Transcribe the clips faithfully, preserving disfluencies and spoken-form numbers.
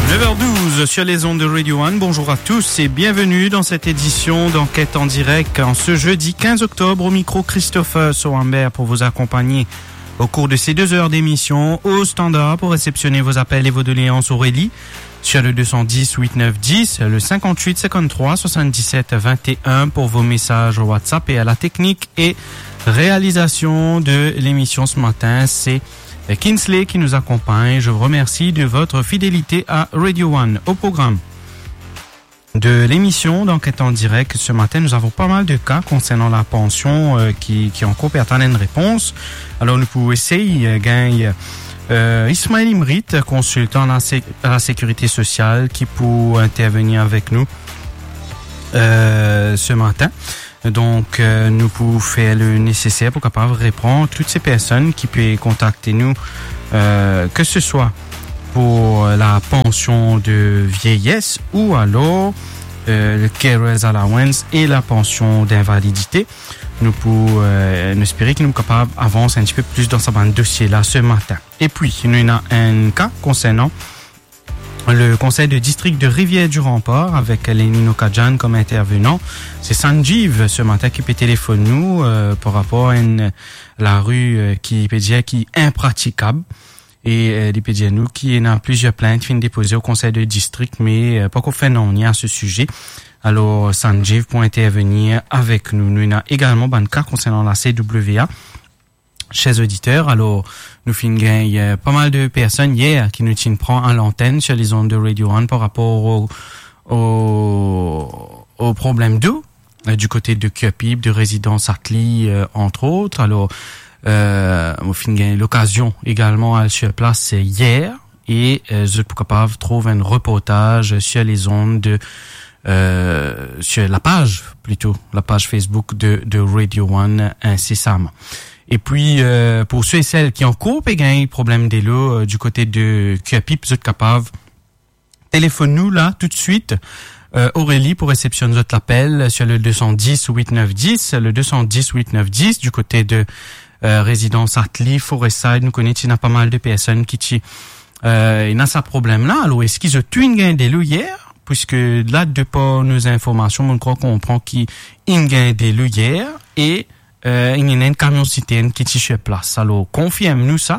Neuf heures douze sur les ondes de Radio One. Bonjour à tous et bienvenue dans cette édition d'Enquête en direct. En ce jeudi quinze octobre, au micro, Christopher Sohamber pour vous accompagner au cours de ces deux heures d'émission. Au standard pour réceptionner vos appels et vos doléances, Aurélie, sur le deux cent dix huit neuf dix, le cinquante-huit cinquante-trois soixante-dix-sept vingt et un pour vos messages WhatsApp, et à la technique et réalisation de l'émission ce matin, c'est Kinsley qui nous accompagne. Je vous remercie de votre fidélité à Radio One. Au programme de l'émission d'Enquête en direct ce matin, nous avons pas mal de cas concernant la pension, euh, ki, ki ankor pe atann enn repons. Alor, nou pou esey, euh, gagn, euh, Ismaël Imrit, consultant à la sé-, à la sécurité sociale, ki pou intervenir avec nous, euh, ce matin. Donk, euh, nou pou fer le neseser pou kapav repran tout se personn ki pe kontakte nou, euh, ke se swa pou la pension de vieillesse ou alors, euh, le carers allowance e la pension d'invalidité. Nou pou, euh, nou espere ki nou kapav avans enn tipe plis dan sa bann dosie la se matin. E pi, nou ena enn ka konsernan le conseil de district de Rivière-du-Rempart avec Lenny Nokadjan comme intervenant. Se Sanjeev se matin ki pe telefonn nou, euh, par rapor a enn lari, euh, ki pe dir ki inpratikab. E, euh, li pe dir nou ki ena plizier plint finn depoze o conseil de district, me, euh, pankor fer nanye a se size. Alor, Sanjeev pou intervenir avek nou. Nou ena egalman bann ka konsernan la C W A. Chers auditeurs, alor, nou finn gagn, euh, pa mal de personn yer ki nou ti pran a lantenn sur les ondes de Radio One par rapor o, o, o problem dlo, euh, du kote de Curepipe, de rezidans Atli, euh, entre autres. Alor, euh, nou finn gagn lokazion egalman al sur plas, euh, yer, e, euh, zot pou kapav trouv enn reportaz sur les ondes de, euh, sur la page, plito, la page Facebook de, de Radio One insesaman. E pi, euh, pou se e sel ki ankor pe gagn problem dlo, euh, du kote de Curepipe, zot kapav telefonn nou la toutswit, euh, Aurélie pou resesyonn zot lapel sur le deux cent dix huit neuf dix, le deux cent dix huit neuf dix, du kote de, euh, rezidans Atli, Forestside. Nou kone ti ena pa mal de personn ki ti, euh, ena sa problem la. Alor, eski zot tou inn gagn dlo yer? Puiske la, de par nou zinformasion, mo krwar konpran ki inn gagn dlo yer e, euh, inn ena enn kamion sitern ki ti sur plas. Alor, konfirm nou sa.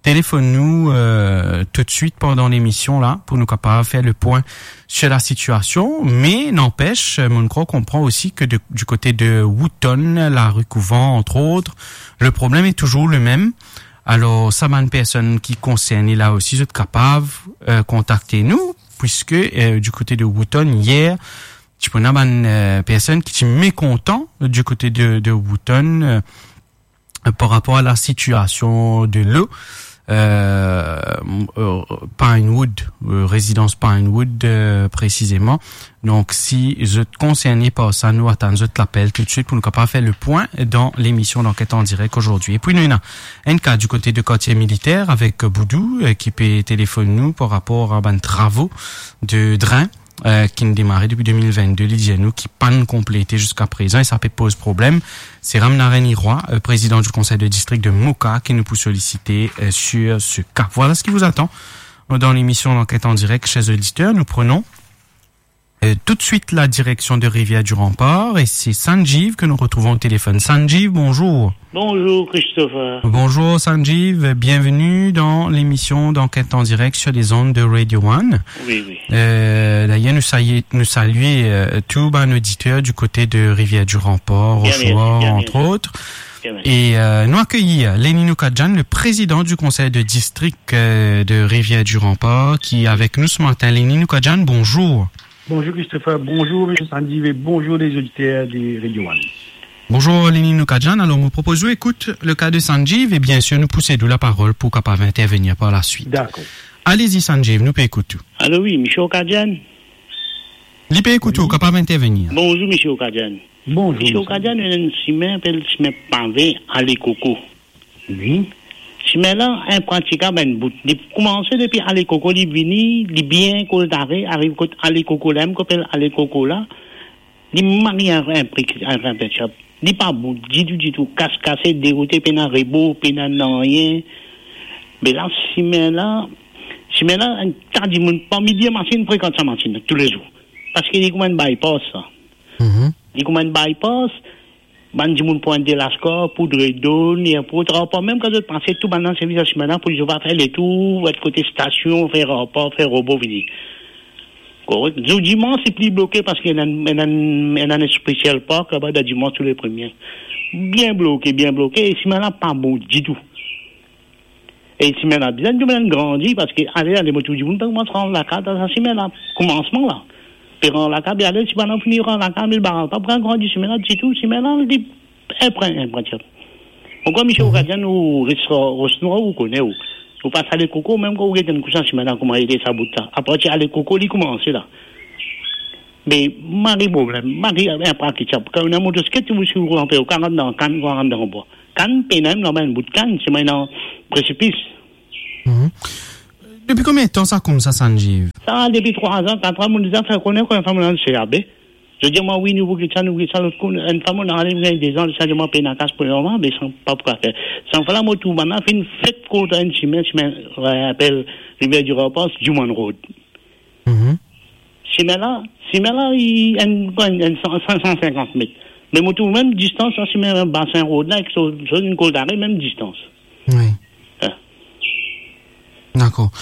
Telefonn nou, euh, toutswit pandan lemision la pou nou kapav fer le pwin sur la sitiasion. Me nanpes, mo krwar konpran osi ke de, du kote de Wootton, lari Couvent, entre autres, le problem est toujours le même. Alor, sa bann personn ki konserne la osi, zot kapav, euh, kontakte nou, puiske, euh, du kote de Wootton, yer, ti pou ena bann, euh, personn ki ti mekontan du kote de, de Wootton, euh, par rapor a la sitiasion dlo, euh, euh, Pinewood, euh, rezidans Pinewood, euh, presizeman. Donk, si zot konserne par sa, nou atann zot lapel toutswit pou nou kapav fer le pwin dan lemision D'Enquête en direct aujourd'hui. E pi, nou ena enn ka du kote de Kartie Militer avek Boudou, euh, ki pe telefonn nou par rapor a bann travo de dren, euh, ki'nn demare depi de mil vennde, li dir nou ki pa'nn konplete ziska prezan e sa pe poz problem. Se Ramnarain Iroy, euh, prezidan du konsey de distrik de Moka, ki nou pou solisite, euh, sur ce cas. Voilà ce qui vous attend dans l'émission D'Enquête en direct, chers auditeurs. Nous prenons, euh, tout de suite la direction de Rivière-du-Rempart et c'est Sanjeev que nous retrouvons au téléphone. Sanjeev, bonjour. Bonjour Christopher. Bonjour Sanjeev, bienvenue dans l'émission D'Enquête en direct sur les ondes de Radio One. Oui, oui. Euh, d'ailleurs, nous saluons, nous saluons, euh, tous bann auditeur du côté de Rivière-du-Rempart, Rochereau, entre autres. Bien, merci. Et, euh, nou akeyir Lenny Nokadjan, le président du conseil de district, euh, de Rivière-du-Rempart, qui est avec nous ce matin. Lenny Nokadjan, bonjour. Bonjour Christopher, bonjour Monsieur Sanjeev et bonjour les auditeurs de Radio One. Bonjour Lenny Nokadjan. Alor, mo propoz ou ekout le ka de Sanjeev e bien sir nou pou sed ou laparol pou kapav intervenir par la suite. Dakor. Allez-y Sanjeev, nou pe ekout ou. Alo, wi, Monsieur Okadjan. Li pe ekout ou, kapav intervenir. Bonjour Monsieur Okadjan. Bonjour, Monsieur Okadjan, ena enn simin, apel simin pave Ale Koko. Wi. Simin la inpratikab enn bout. Li koumanse depi Ale Koko, li vini, li bien koltare, ariv kot Ale Koko la, mem kot apel Ale Koko la, li mal inpre-, inpre-, inpre-, li pa bon ditou, ditou, kas-, kase, deroute, pena rebor, pena nanye. Me la, simin la, Simin la, enn ta dimoun, par midi, masin frekant sa masin la toulezour. Parski li kouma enn bypass sa. Mhm. Li kouma enn bypass, bann dimoun pran de laskar, poud redonn, li enn port rapor, mem kan zot pase, tou bann la servi sa simin la pou zot va fer letour, zot kote stasion, fer rapor, fer robo vini. Korek. Zour dimans, li pli bloke parski ena, ena, ena enn special park laba dan dimans tou le premie. Bien bloke, bien bloke, e simin la pa bon ditou. E simin la bizin, bizin grandi, parski ale, ale, mo trouv dimoun pe koumans rant lakaz dan sa simin la, koumansman la. Pe rant lakaz, be ale, si bann la fini rant lakaz, me baraz pa pou grandi simin la ditou, simin la, li enpre, enpre, ti. Ankor, misie, mhm, ou gardien, ou res Ros Nwa, ou kone, ou, ou pas Ale Koko, mem kan ou get enn kou sa simin la, kouma li ete sa bout la. Apartir Ale Koko, li koumanse la. Me mari problem, mari enpre ki ti. Kan ou ena motosiklet, ou si ou ranpe, ou karann dan kann, karann dan bwa. Kann, pena mem laba enn bout kann, simin la presipis. Mhm. Depi konbien tan sa koumsa, Sanjiv? Sa, depi trwa an, kat an, mo deza fer kone, kan enn fwa mo al C A B. Zot dir mwa, wi, nou pou get sa, nou pou get sa, lot kou, enn fwa mo al, mo gagn dezan, sa dir mwa, pena kas pou lor mwa, me sa pa pou fer. Sa enn fwa la, mo trouv bann la finn fer kot enn simin, simin, euh, apel Rivière du Rempart, Juman Road. Mhm. Simin la, simin la, li enn, enn, enn san, san, san senkant met. Me mo trouv mem distans, sa, simin Basin Road la, ek so, so enn Kol Dare, mem distans. Wi. Ah. Dakor.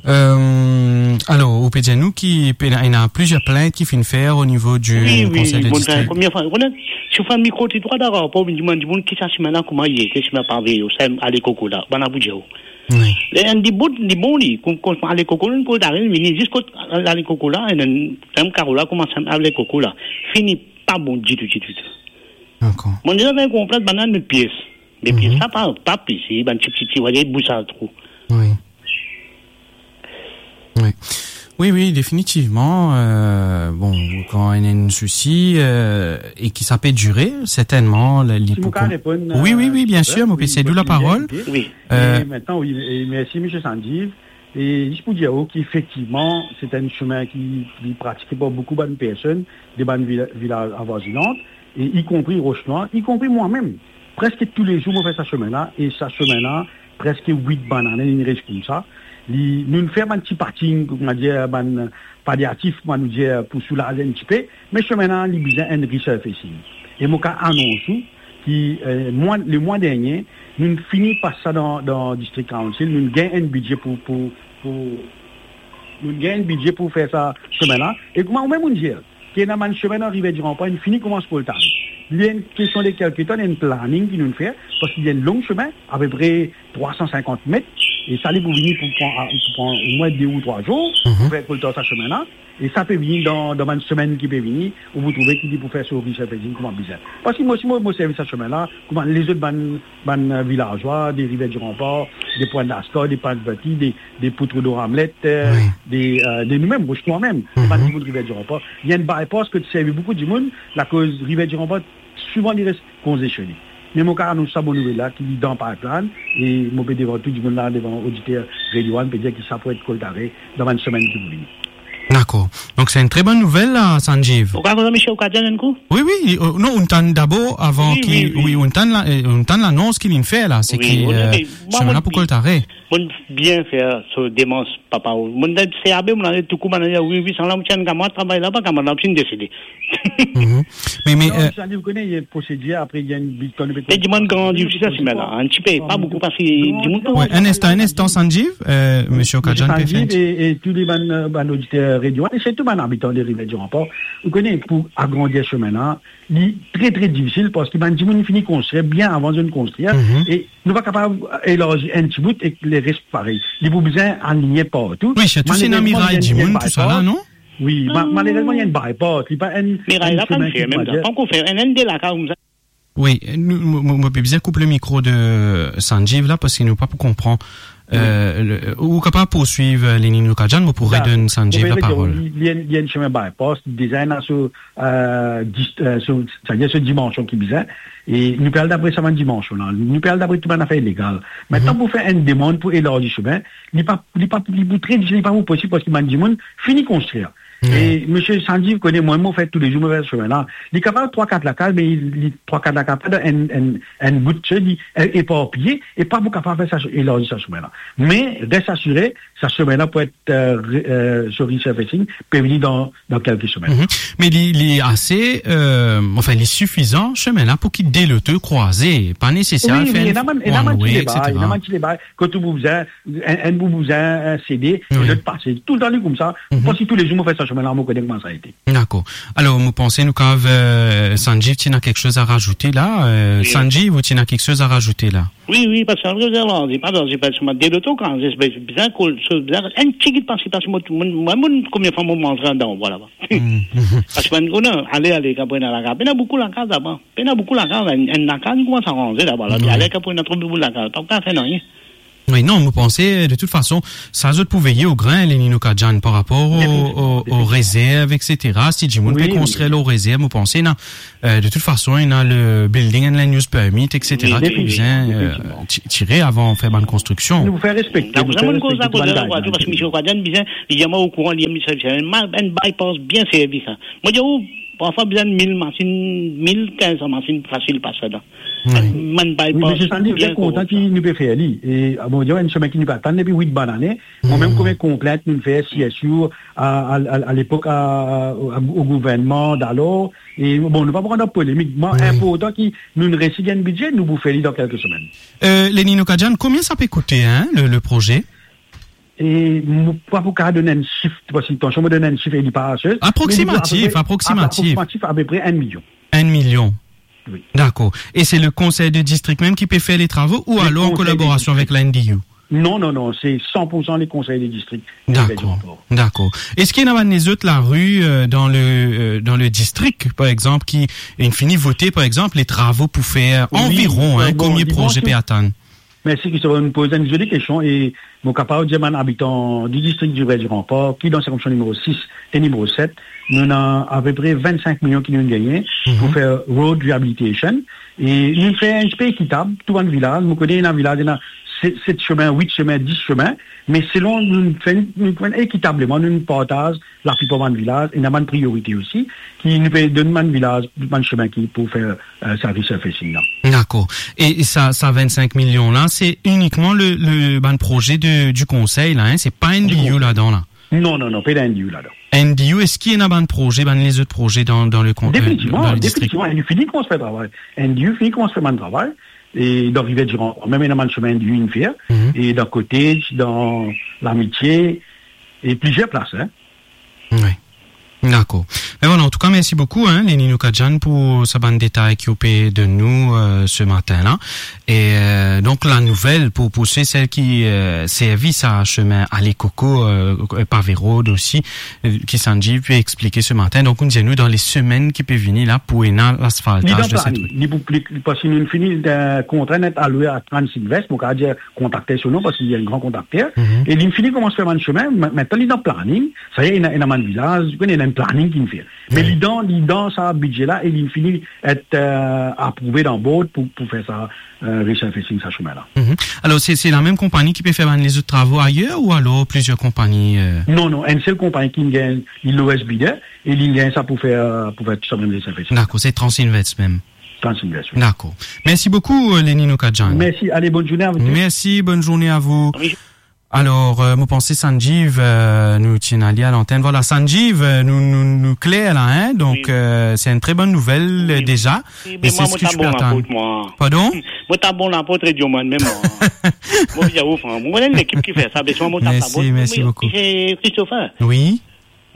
Euh, alor, ou pe dir nou ki pena, ena plizier plint ki finn fer o nivo di, wi, euh, wi, konsey de distrik. Wi, bon, premie fwa, ou kone, si ou fer mikro-trotwar, dakor, pou vinn dimann dimoun ki sa simin la, kouma li ete, simin pave, ou sa Ale Koko la, bann la pou dir ou. Wi. Le, enn dibout, li bon li, koum, koum Ale Koko, nou pou ariv, vini zis kot Ale Koko la, e enn, enn karo la, kouma sa Ale Koko la. Fini, pa bon ditou, ditou, ditou. Dakor. Mo deza konpran bann la met pies. Me pies, mhm, sa pa, pa plis, bann ti, ti, ti, ou va dir, bous sa trou. Wi. Wi. Wi, wi, definitivman, euh, bon, kan ena enn sousi, euh, e ki sa pe dire, sertennman, li, li pou... Si mo kapav reponn, wi, wi, euh, wi, biensir, mo pe sedi ou laparol. Wi. Euh, e aster, wi, e mersi, misie Sanjiv. E zis pou dir ou ki efektivman, se enn simin ki, ki pratike par boukou bann personn, de bann vila-, vilaz avoizinant, e ikonpri Ros Nwa, ikonpri mwa mem. Preske toulezour mo fer sa simin la, e sa simin la, preske wit bann ane, li res koumsa. Li, nou fer bann ti parking, kouma dir, bann paliatif, kouma nou dir, pou soulaz enn tipe, me simin la, li bizin enn resurfacing. E mo kapav anons ou ki, euh, mwa, lemwa dernie, nou fini pas sa dan, dan District Council, nou gagn enn bidze pou, pou, pou, nou gagn enn bidze pou fer sa simin la. E kouma ou mem ou dir, ki ena bann simin dan Rivière du Rempart, inn fini koumans koltare. Li enn kestion de kelke tan, enn planning ki nou fer, parski li enn long simin, apepre trwa san senkant met, e sa li pou vini pou pran, pou pran omwin de ou trwa zour, mhm, pou fer koltar sa simin la. E sa pe vini dan, dan bann semenn ki pe vini, ou pou trouve ki li pou fer so resurfacing kouma bizin. Parski mo, si mo, mo servi sa simin la, kouma lezot bann, bann, euh, vilazwa, de Rivière du Rempart, de Pointe d'Ascor, de Pointe Berthier, de, de Poudre d'Or Hamlet, euh, wi, de, euh, de nou mem, Ros Nwa mem, mhm, bann dimoun Rivière du Rempart, li enn bypass ki servi boukou dimoun, lakoz Rivière du Rempart, souvan li res kongestione. Me mo kapav anons sa bon nouvel la, ki li dan pipeline, e mo pe devan tou dimoun la, devan oditer Radio One, pe dir ki sa pou et koltare dan bann semenn ki pou vini. Dakor. Donk, se enn tre bonn nouvel la, Sanjiv. Ou kapav kontan, misie, ou kapav tann enn kou? Wi, wi, euh, non, ou'nn tann dabor, avan ki, wi, wi, wi, ou'nn tann la, euh, ou'nn tann lanons ki li'nn fer la, se ki, euh, simin la pou koltare. Mo'nn bien fer so demars, papa. Mo'nn dan C A B, mo'nn ale toukou, bann la dir, wi, wi, sa la, mo ti enn kamarad travay laba, kamarad la finn desede. Mhm. Me, me, non, euh, Sanjiv, ou kone, li ena prosedir, apre li ena enn bit, kan nou pe... Me dimoun grandi osi sa simin la, enn tipe, pa boukou, parski dimoun... Wi, enn instan, enn instan, Sanjiv, euh, misie Okadjan pe fer enn ti... E, e tou le bann, euh, bann oditer Radio One, e sirtou bann abitan de Rivière du Rempart, ou kone, pou agrandir simin la, li tre, tre difisil, parski bann dimoun fini konstrir bien avan zot konstrir, mhm, e nou pa kapav elarzi enn ti bout ek leres parey. Li pou bizin aligne partou. Wi, sirtou si ena miray dimoun, tou sa la, non? Wi, ma-, malerezman, li ena enn bypass, li pa enn... Miray la pa fer mem, pa ankor fer enn, enn de lakaz koumsa. Wi, nou, mo, mo, mo pe bizin koup lemikro de Sanjiv la, parski nou pa pou konpran. Wi. Euh, le, ou kapav pourswiv, euh, Lenin Okadjan, mo pou redonn Sanjiv laparol. Li, li enn, li enn simin bypass, deza ena so, euh, dis-, euh, so, setadir so dimansion ki bizin. E nou pe al dapre sa bann dimansion la. Nou pe al dapre tou bann zafer legal. Mintnan, mhm, pou fer enn demann pou elarzi simin, li pa, li pa, li pou tre difisil, li pa pou posib, parski bann dimoun fini konstrir. E misie Sanjeev kone mwa, mo fer toulezour, mo fer sa semin la. Li kapav trwa, kat lakaz, me li, li trwa, kat lakaz pa dan enn, enn, enn bout, li, e, eparpiye, e pa pou kapav fer sa, elarzi sa semin la. Me res asire, sa semin la pou et, e, re-, e, so resurfacing pe vini dan, dan kelke semin. Me li, li ase, e, anfin, li sifizan, semin la, pou ki de loto krwaze. Pa neseser fer enn one way, etsetera. Wi, wi, ena bann, ena bann ti deba, ena bann ti deba, kot ou pou bizin, enn, enn pou bizin, e, sede, e lot pase. Toultan li koumsa, mo panse toulezour mo fer sa semin la, mo kone kouma sa ete. Dakor. Alor, mo panse nou kav, e, Sanjeev, ti ena kiksoz a razoute la. E, Sanjeev, ou ti ena kiksoz a razoute la? Wi, wi, parski sa, pa dan, se pa selman de loto, kan se bizin kol, se bizin enn tigit pase, pase, mo, mo, mo, mo, konbien fwa mo manz ladan, vwala. Parski bann, ale, ale, kan pou ena lakaz, ena boukou lakaz laba. Ena boukou lakaz, enn, enn lakaz, nou koumans aranze laba la. Ale, kan pou ena tro boukou lakaz, pa pou fer nanye. Wi, non, mo panse, de tout fason, sa zot pou veye o grin, Leni Nokadjan, par rapor o, o, o rezerv, etsetera. Si dimoun pe konstrir lor rezerv, mo panse, ena, e, de tout fason, ena le building and land use permit, etsetera, ki bizin, e, ti-, tire avan fer bann konstriksion. Nou fer respekte, nou fer respekte tou bann guidelines. Parski misie Nokadjan bizin, li dir mwa o kouran, li dir mwa, enn bypass bien servi sa. Mo dir ou, parfwa bizin mil masinn, mil kinz masinn fasil pas ladan. Wi. Bann bypass, wi, misie Sanjeev, bien kontan ki nou pe fer li. E, a, bon, enn semin ki nou pe atann depi wit bann ane. Mwa mem, konbien konplint nou fer, si, si, a, a, a, a lepok, a, a, o gouvernman dalor. E, bon, nou pa pou rant dan polemik. Mwa, inportan ki nou resi gagn bidze, nou pou fer li dan kelke semin. E, Leni Nokadjan, konbien sa pe koute, hein, le, le proze? E mo pa pou kav donn enn sif, parski tansion mo donn enn sif e li pa ase. Aproksimatif, aproksimatif. Aproksimatif, apepre enn milion. Enn milion. Wi. Dakor. E se le konsey de distrik mem ki pe fer le travo ou alor an kolaborasion avek la N D U? Non, non, non, se san pour san le konsey de distrik. Dakor, dakor. Eski ena bann lezot lari, e, dan le, e, dan le distrik, par exanp, ki inn fini vote, par exanp, le travo pou fer? Wi, anviron, e, hein, bon, konbien proze pe atann? Mersi, Christopher, nou poz enn zoli kestion e mo kapav dir bann abitan di distrik Divers di Ranpar, ki dan sirkonskripsion nimero sis e nimero set, nou ena apepre vennsenk milion ki nou gagne pou fer road rehabilitation. E nou fer enn tipe ekitab, tou bann vilaz, mo kone ena vilaz, ena se-, set semin, wit semin, dis semin, me selon nou fer, nou fer ekitableman, nou partaz laplipar bann vilaz, ena bann priorite osi, ki nou pe donn bann vilaz, bann semin ki pou fer, e, sa resurfacing la. Dakor. E, e sa, sa vennsenk milion la, se inikman le, le, bann proze de, di konsey la, hein? Se pa N D U ladan la? Non, non, non, pena N D U ladan. N D U, eski ena bann proze, bann lezot proze dan, dan le kon-, e, dan le distrik? Definitivman, definitivman, N D U fini koumans fer travay. N D U fini koumans fer bann travay. E dan Rivière du Rempart, mem ena bann semin N D U inn fer. E dan Cottage, dan L'Amitié, e plizier plas, hein. Wi. Dakor. Me vwala, antouka, mersi boukou, hein, Leni Nokadjan, pou sa bann detay ki ou pe donn nou, e, se matin la. E, e, donk, la nouvel pou, pou se sel ki, e, servi sa semin Ale Koko, e, e, pave road osi, e, ki Sanjeev pe explike se matin. Donk, ou dir nou dan le semenn ki pe vini la pou ena lasfaltaz de se truk. Li dan planing, li pou, li, parski nou fini, e, kontra inn aloue a Transinvest, mo kav dir kontrakter so non, parski li enn gran kontrakter. E li fini koumans fer bann semin, me-, mintenan li dan planing, sa ye, ena, ena bann vilaz, ena enn planing ki inn fer. Me li dan, li dan sa bidze la, e li fini et, e, aprouve dan board pou, pou fer sa, e, resurfacing sa semin la. Alor, se, se la mem konpagni ki pe fer bann lezot travo ayer ou alor plizier konpagni, e? Non, non, enn sel konpagni ki gagn, li lowest bidder, e li gagn sa pou fer, pou fer tou sa bann resurfacing. Dakor, se Transinvest mem. Transinvest, wi. Dakor. Mersi boukou, e, Leni Nokadjan. Mersi, ale, bonn zourne a zot. Mersi, bonn zourne a vou. Wi. Alor, e, mo panse Sanjeev, e, nou ti ena li a lantenn. Vwala, Sanjeev, e, nou, nou, nou kler la, hein? Donk, e, se enn tre bonn nouvel, e, deza. Wi, me mwa, mo ta bon lapot, mwa. Pardon? Mo ta bon lapot Radio One mem, mwa. Mo vinn ouf, hein. Mo konn enn lekip ki fer sa, me mwa, mo ta bon. Mersi, mersi boukou. E Christopher. Wi.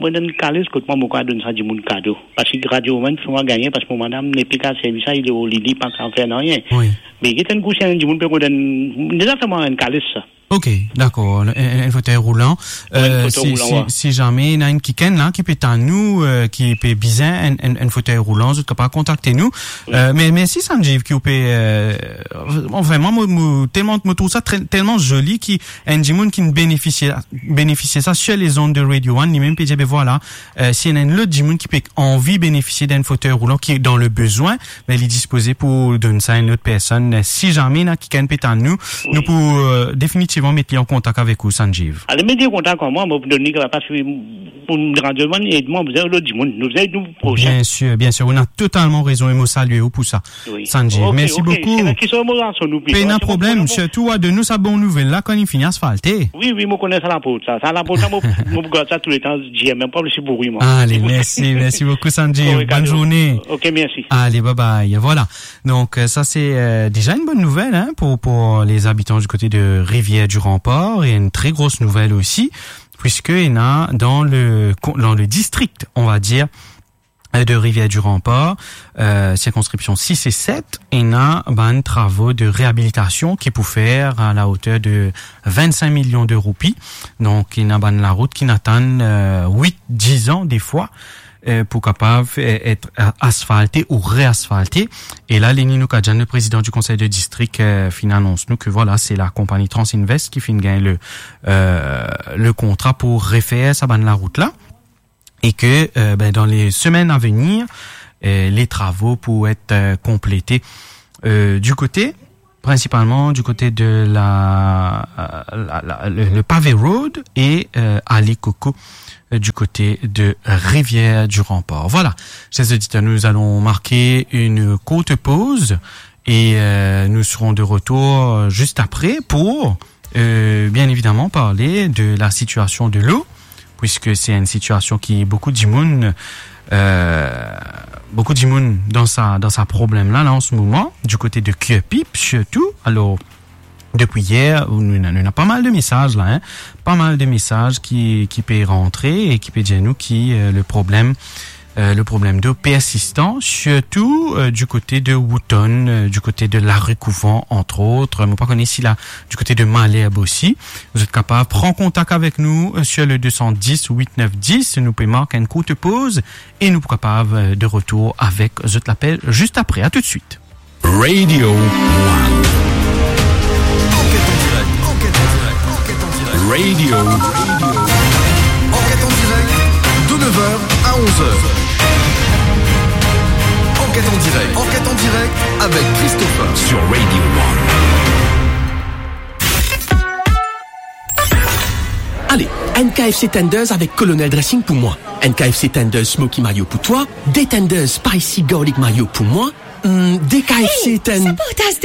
Mo ena enn kalis kot mwa, mo kav donn sa dimoun kado. Parski Radio One fer mwa gagne, parski mo madam nepli kav servi sa, li o lili, pa kav fer nanye. Wi. Me get enn kou si enn dimoun pe rod enn, deza fer mwa enn kalis sa. Ok, dakor. Enn, enn, enn fotey roulan. Wi, enn fotey roulan, si, si zame ena enn kikenn la ki pe tann nou, e, ki pe bizin enn, enn, enn fotey roulan, zot kapav kontakte nou. Wi. E, me mersi Sanjeev ki ou pe, e, bon, vreman, mo, mo, telman, mo trouv sa tre, telman zoli ki enn dimoun ki benefisie, benefisie sa sur les ondes de Radio One, li mem pe dir, be vwala, e, si ena enn lot dimoun ki pe anvi benefisie d'enn fotey roulan ki dan le bezwin, be li dispoze pou donn sa enn lot personn. Si zame ena kikenn pe tann nou, nou pou, e, definitivman met li an kontak avek ou, Sanjeev. Ale, met li an kontak avek mwa, mo pou donn li, parski Pou nou radio, ed mwa, nou bizin ed lot dimoun, nou bizin ed nou prosin. Bien sûr, bien sûr. Ou ena totalman rezon e mo salie ou pou sa. Wi. Sanjeev, ok, merci ok, beaucoup. Seki mo rason nou pli. Pena problem, sirtou a donn nou sa bon nouvel la kan li fini asfalte. Wi, wi, mo kone sa laport, sa. Sa laport, sa, mo, mo gard sa touletan, dir mem pa si bouri, mwa. Allez, merci, merci beaucoup, Sanjeev. Bonne journée. Ok, merci. Allez, bye bye. Voilà. Donc, euh, ça, c'est, euh, déjà une bonne nouvelle, hein, pour, pour les habitants du côté de Rivière-du-Rempart et une très grosse nouvelle aussi, puisque il y en a dans le, dans le district, on va dire, euh, de Rivière-du-Rempart, euh, circonscription six et sept, ena bann travaux de réhabilitation ki pou fer à la hauteur de vingt-cinq millions de roupies. Donc, ena bann larout ki atann, euh, huit, dix ans des fois, euh, pou kapav, euh, et, euh, asfalte ou reasfalte. E la, Leni Noukajan, le président du conseil de district, euh, finn anons nou ke, voilà, se la konpagni Transinvest ki finn gagn le, euh, le kontra pou refer sa bann larout la. Et que, euh, ben, dans les semaines à venir, euh, les travaux pourraient être, euh, complétés, euh, du côté, principalement du côté de la, euh, la, la, le, le pavé road et, euh, allée Coco, euh, du côté de Rivière-du-Rempart. Voilà, chers auditeurs, nous allons marquer une courte pause et, euh, nous serons de retour juste après pour, euh, bien évidemment parler de la situation de l'eau, puisque c'est une situation qui beaucoup de monde, euh, beaucoup de monde dans sa, dans sa problème là, là en ce moment, du côté de Kirpip surtout. Alors, depuis hier, nou ena, nou ena pa mal de messages là, hein, pa mal de messages qui, qui pe rentrer et qui pe dir nou ki, euh, le problème, euh, le problème d'eau persistant, surtout, euh, du côté de Wootton, euh, du côté de Larue Couvent, entre autres. Mo pa kone si la, du côté de Malherbe aussi. Vous êtes capable de prendre contact avec nous, euh, sur le deux cent dix huit neuf dix. Nou pe mark une courte pause et nou pou kapav, euh, de retour avec zot lapel juste après. À tout de suite. Radio One. Enquête en direct, enquête en direct, enquête en direct. Radio. Enquête en direct, de neuf heures à onze heures. Enquête en direct, enquête en direct avec Christopher sur Radio One. Allez, N K F C Tenders avec Colonel Dressing pour moi. N K F C Tenders Smoky Mayo pour toi. Des Tenders Spicy Garlic Mayo pour moi. Hmm, des K F C Hey, ten- sa portaz